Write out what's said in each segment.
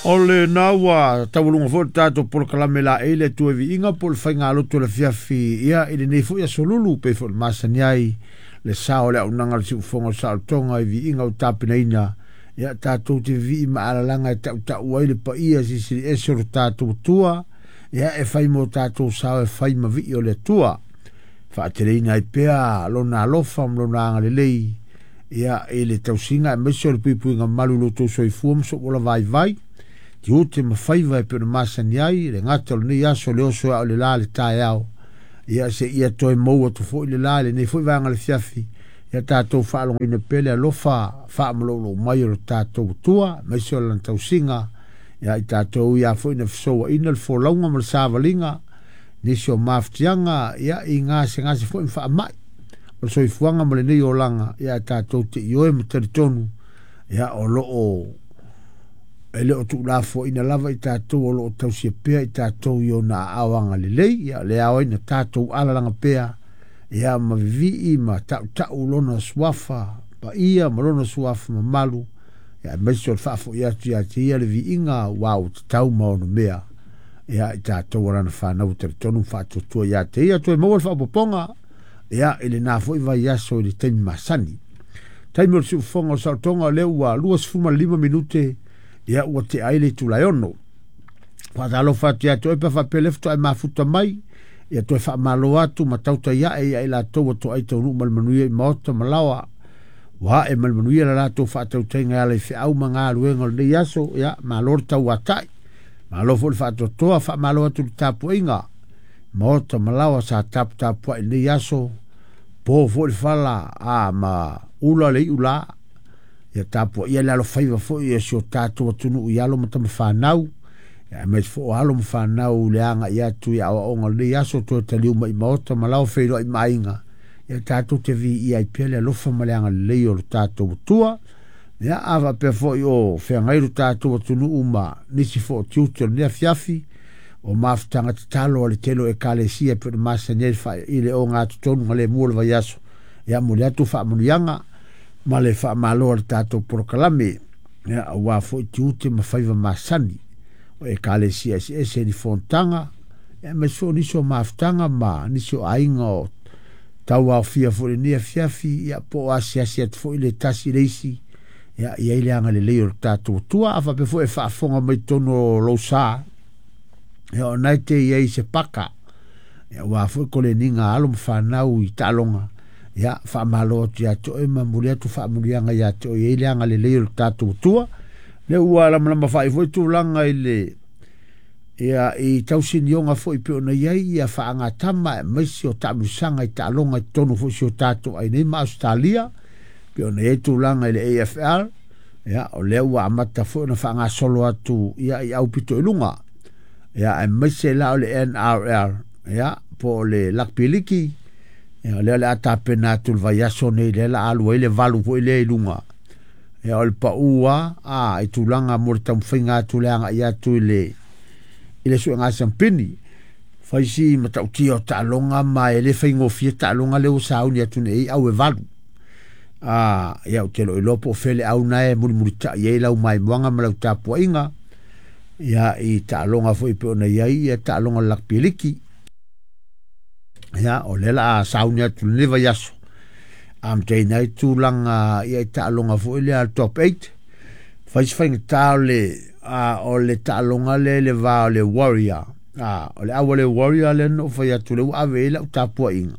O lena ua taualuga foi le tatou polokalame laei le Atua i viiga po o le faigalotu o le afiafi ia i lenei foi aso lulu pei foi ona masani ai le sao o le auaunaga a le siufofoga o le saolotoga i viiga ua tapenaina ia tatou te vivii ma alalaga e tautau ai le paia silisili ese o le tatou Atua ia e fai mo tatou sao e fai ma vii o le Atua faateleina ai pea lona alofa ma lona agalelei ia i le tausiga aemaise o le puipuiga malu i lo outou soifua ma sou ola vaivai tiute ma faiva e pei ona masani ai le gata o lenei aso le oso e ao le la le taeao ia se ia toe mou atu foi le la i lenei foi vaega le fiafi ia tatou faalogoina pea le alofa faamalolou mai o le tatou Atua aemaise o lana tausiga ia i tatou ia foi na fesouaina le folauga ma le savaliga nisi o mafatiaga ia i gasegase foi ma faamai o le soifuaga ma lenei olaga ia tatou te ioe ma talitonu ia o lo o e le o tuulafoaina lava i tatou o lo o tausia pea i tatou i ona aao agalelei ia le ao ai na tatou alalaga pea ia ma vivii ma tautau lona suafa paia ma lona suafa mamalu ia aemaise o le faafoi atu ia te ia le viiga ua ua tatau ma ono mea ia i tatou alana whanau talitonu ma faatuatua ia te ia toe maua le faaopoopoga ia i lena foi vaiaso i le taimi masani. Taimi o le siufofoga o le saolotoga o lea ua 25 minute ia ua tea ai le itula e 6. Faatalofa atu ia te oe pe faapea le faatoa e mafuta mai ia toe faamalo atu ma tautai ae ia i latou ua toai taunuu ma le manuia i maota ma laoa. Ua ae ma le manuia la latou faatautaiga e ala i feau ma galuega o lenei aso ia malo le tauatai. Malo foi le faatoatoa, faamalo atu le tapuaiga. Maota ma laoa sa taputapuai i lenei aso, po foi le fala a ma ula le iu la. Ia tapuaia le alofaiva foi e si o tatou atunuu i alo ma tamafanau. Ia aemaise foi o alo ma fanau le agai atu i aoaoga o lenei aso toe taliu mai i maota ma laoa feiloai ma aiga. Ia tatou te viia ai pea le alofa ma le agalelei o le tatou Atua. Ia a faapea foi o feagai lo tatou atunuu ma nisi foi o tiute o lenei afiafi o mafutaga tatalo a le tele o ekalesia e pei ona masani ai le i le ogatotonu ga lemu o le vaiaso. Ia momoli atu faamanuiaga ma le faamalo a le tatou polokalame. Ia aua foi tiute ma faiva masani o ekalesia eseese ni fonotaga ia aemaise foi o nisi o mafutaga ma nisi o aiga o tauaofia foi i lenei afiafi ia po o asiasi atu foi le tasi i le isi ia i ai le agalelei o le tatou Atua. A faapea foi e faafofoga mai totonu o lou sa ia o na e te i ai se paka ia aua foi koleniga a alo ma fanau i taaloga ia faamalo atu ia te oe ma momoli atu faamanuiaga ia te oe i ai le agalelei o le tatou Atua. Le ua lamalama faai foi tulaga i le ia i tausinioga foi pei ona i ai ia faagatama aemaise o taamilosaga i taaloga i totonu foi o si o tatou aiga nei ma Ausetalia pei ona i ai tulaga i le AFL ia o lea ua amata foi ona faagasolo atu ia i aupito i luga ia aemaise la o le NRL ia po o le Rugby League ia o lea o le a tapena atu le vaiaso nei lea la alu ai le valu foi lea i luga ia o le pau a i tulaga mo le taumafaiga atu le agai atu i le suega siampini. Fai si matautia o taaloga ma e le faigofie taaloga lea ua sauni atu nei au e valu. Ia ou te lo iloa po o fea le au na e mulimulitai ai lau maimoaga ma lau tapuaiga ia i taaloga foi pei ona i ai ia taaloga o le Rugby League. Ia o lea la a sauni atu lenei vaiaso amataina ai tulaga ia i taaloga foi lea le top 8. Fai si faigata o le taaloga lea i le va o le Warrior. O le au a le Warrior lea na ou fai atu le ua ave ai lau tapuaiga.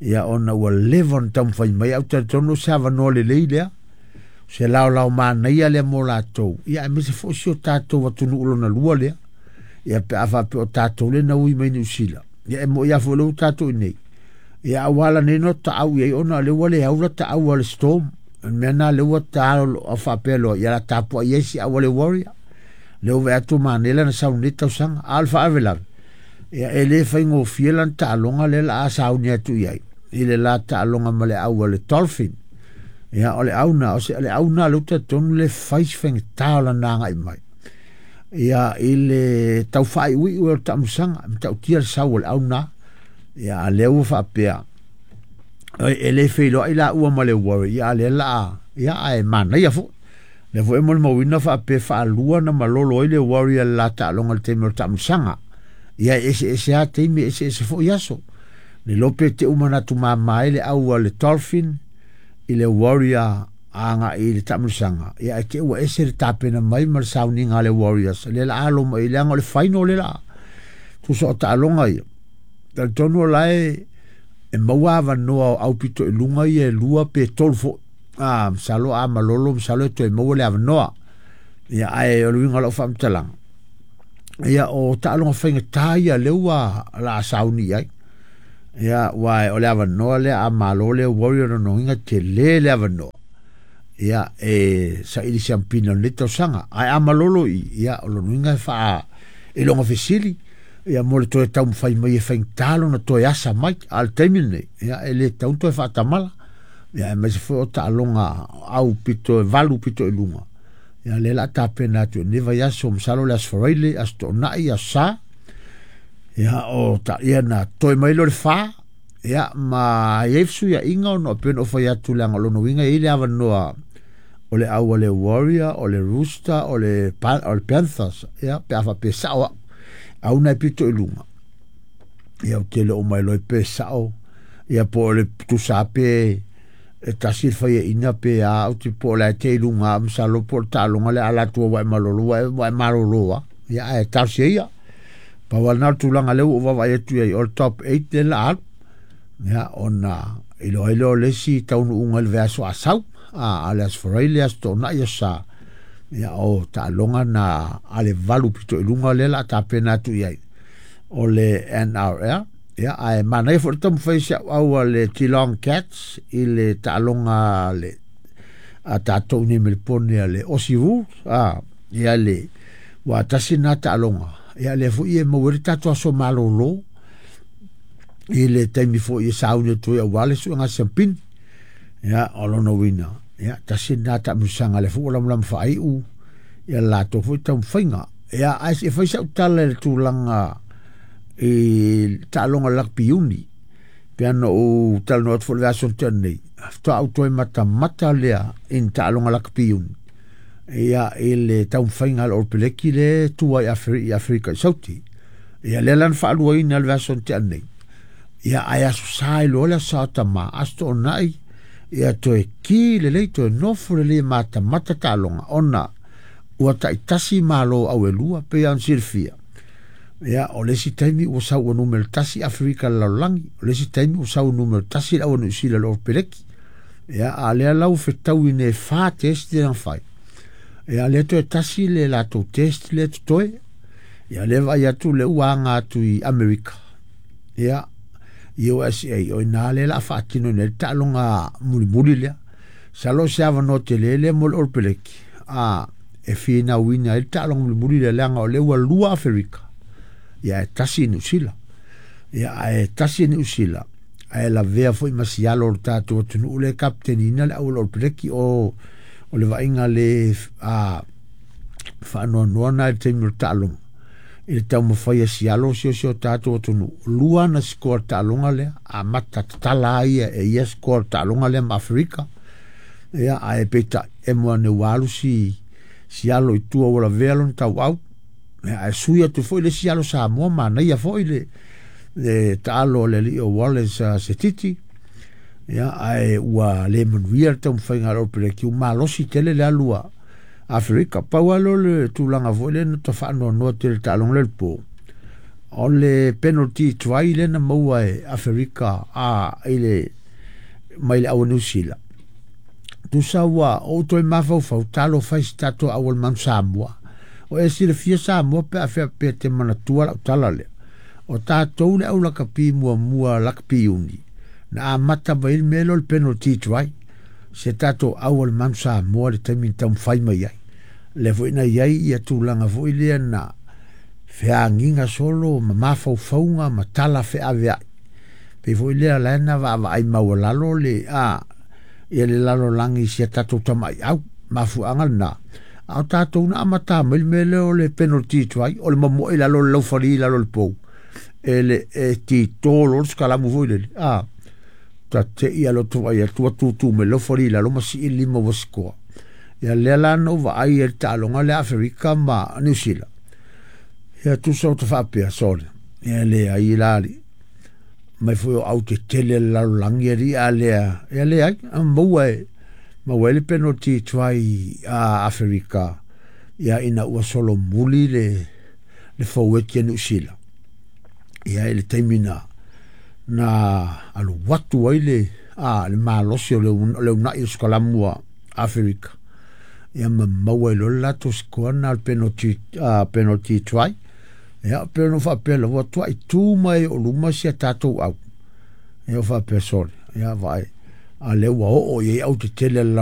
Ia ona ua leva ona taumafai mai au talitonu o se avanoa lelei lea. Se laolao manaia lea mo latou. Ia aemaise foi si o tatou atunuu lona lua lea. Ia pe a faapea o tatou lea na ui mai Niu Sila. Ia e moi lava foi lea ua tatou i nei. Ia aua la nei no taau i ai ona o lea ua le au la taau a le Storm. O le mea na lea ua ta faapea loa ia la tapuai ai si au a le Warrior. Lea ua vaai atu manaia lana sau nei tausaga. A o le faalavelave, ia e le faigofie lana taaloga lea la a sauni atu i ai. I le la taaloga ma le au a le Dolphin. Ia o le au na, o se le au na lea ua talitonu le fai si faigata o lana agai mai. Ia i le tau faaiuiu o le taamilosaga, matautia le sau o le au na. Ia a lea ua faapea, e le feiloai la ua ma le Warrior, ia a lea la a, ia ae manaia foi. Le foi molimauina faapea faalua na malolo ai le Warrior le la taaloga i le taimi o le taamilosaga. Ia e eseese lava taimi e eseese foi aso. Le iloa pe te uma manatu mama ai le au a le Dolphin i le Warrior agai i le taamilosaga, ia ae te ua ese le tapena mai ma le sauniga a le Warriors lea la alo mai leaga o le final le la. Tusa o taaloga ia. Talitonu o la e maua avanoa o aupito i luga ia e lua pe tolu foi. Masalo a malolo, masalo e toe maua le avanoa. Ia ae o le uiga o lau faamatalaga, ia o taaloga faigata ia lea ua la sauni ai. Ia ua o le avanoa lea a malo le Warrior nonoina tele le avanoa. Ia e saili siampina o lenei tausaga. Ae a malolo i, ia o lona uiga e faa e loga fesili, ia mo le toe taumafai mai e faigata lona toe asa mai. A o le taimi lenei, ia e le tatau ona toe faatamala. Ia aemaise foi o taaloga au pito e valu pito i luga. Ia lea la tapena atu i lenei vaiaso, masalo le Aso Faraile, Aso Toonai, Aso Sa. Ia o ta, ia na toe mai lea o le fa, ia ma i ai fesuiaiga ona e pei ona ou fai atu leaga o lona uiga e i ai le avanoa o le au a le Warrior, o le Rooster, o le Panthers, ia pe a faapea sao au, au na e pito i luga. Ia ou te le o mailoa pe sao, ia po o le tusa pe e tasi le faiaina pe a, ou te po o le a te i luga, masalo po o le taaloga le ala atu ua e malolo, ua e malolo lava. Ia ae talosia ia. Pau lava lena o le tulaga lea ua ou vaavaai atu i ai, o le top 8 lea la alu. Ia ona iloa ai lea o le isi taunuuga i le vaiaso a sau, a le Aso Faraile, Aso Toonai, Aso Sa. Ia o taaloga na a le valu pito i luga lea la tapena atu i ai o le NRL. Ia ae manaia foi le taumafai si au au a le Geelong Cats i le taaloga le a tatou nei Melipone a le Aussie Rules. Ia le ua tasi na taaloga. Ia lea foi e maua ai le tatou aso malolo i le taimi foi e sauni atu ai aua le suega siampini. Ia o lona uiga, ia tasi na taamilosaga lea foi ua lamalama faaiu ia latou foi taumafaiga. Ia ae se i fai sau tala i le tulaga i taaloga rugby uni. Pe ana ou talanoa atu foi le vaiaso na tea nei, faatoa ou toe matamata lea i ni taaloga rugby uni. Ia i le taumafaiga a le All Blacks le tua i Afrika i Sauti. Ia lea la na faaluaina le vaiaso na tea nei. Ia ae Aso Sa i loa le Aso Sa o Tama, Aso Toonai, ia toe ki lelei, toe nofo lelei e matamata taaloga, ona ua taitasi malo au e lua, pei ona silafia. Ia o le isi taimi ua sau ua numera tasi Afrika i le lalolagi, o le isi taimi ua sau ua numera tasi le au a Niu Sila i le All Blacks. Ia a lea la ua fetaui nei e fa test lea na fai. Ia lea toe tasi le latou test lea totoe. Ia lea vaai atu lea ua aga atu i Amerika. Ia USA o ina lea la faatino nei le taaloga mulimuli lea. Masalo o se avanoa tele lea mo le All Blacks. E finauina ai le taaloga mulimuli lea leaga o lea ua lua Aferika. Ia e tasi i Niu Sila. Ia ae tasi i Niu Sila. Ae lavea foi ma sialo o le tatou atunuu lea e kapiteniina le au a le All Blacks o le vaaiga le faanoanoa na i le taimi o le taaloga. I le taumafai a sialo si o si o tatou atunuu. Lua na sikoa le taaloga lea, amata tatala ai ia e ia sikoa le taaloga lea ma Aferika. Ia, ae peitai, e moa ane ua alu si sialo i tua ua lavea lona tauau. Ia, ae sui atu foi le sialo Samoa, manaia foi le taalo a le alii o Wallace Setiti. Ia, ae ua le manuia le taumafaiga a le All Blacks, ua malosi tele le alu a Aferika. Pau lava lea o le tulaga foi lea na ta faanoanoa tele i le taaloga lea i le po, o le penalty try lea na maua e Aferika i le mai le au a Niu Sila. Tusa ua ou toe mafaufau, talofa i si tatou au o le Manu Samoa. O e silafia Samoa pe a faapea te manatua lau tala lea. O tatou le au lakapi muamua lakapi uni, na amata mai le mea lea o le penalty try. Se tatou au o le Manu Samoa le taimi na taumafai mai ai. Lea foi na i ai ia tulaga foi lea na feagiga solo ma mafaufauga ma tala feaveai. Pei foi lea la na vaavaai maualalo le ia le lalolagi i si a tatou tamaiau. Mafuaaga lena. A o tatou na amata mai le mea lea o le penalty try, o le mamoe i lalo o le laufali i lalo o le pou. E le e tito loa le sikalamu foi lele. Ta te i a loto ai atua tutu mai laufali i lalo ma sii lima ua sikoa. Ia lea la na ou vaai ai i le taaloga lea a Aferika ma Niu Sila. Ia tusa ou te faapea, sole, ia leai la alii. Mai foi o au tetele le lalolagi alii a lea, ia leai, maua e maua ai le penalty try a Aferika ia ina ua solomuli le le forward ia Niu Sila. Ia i le taimi na na alu atu ai le a le malosi o le le uunai o Skolamu a Aferika. Ia ma maua ai loa le latou sikoa lena o le penalty, penalty try. Ia pei ona ou faapea lava, ua tuai tu mai o luma si a tatou au. Ia ou faapea, sole, ia vaai, a lea ua oo i ai au tetele a le lalolagi.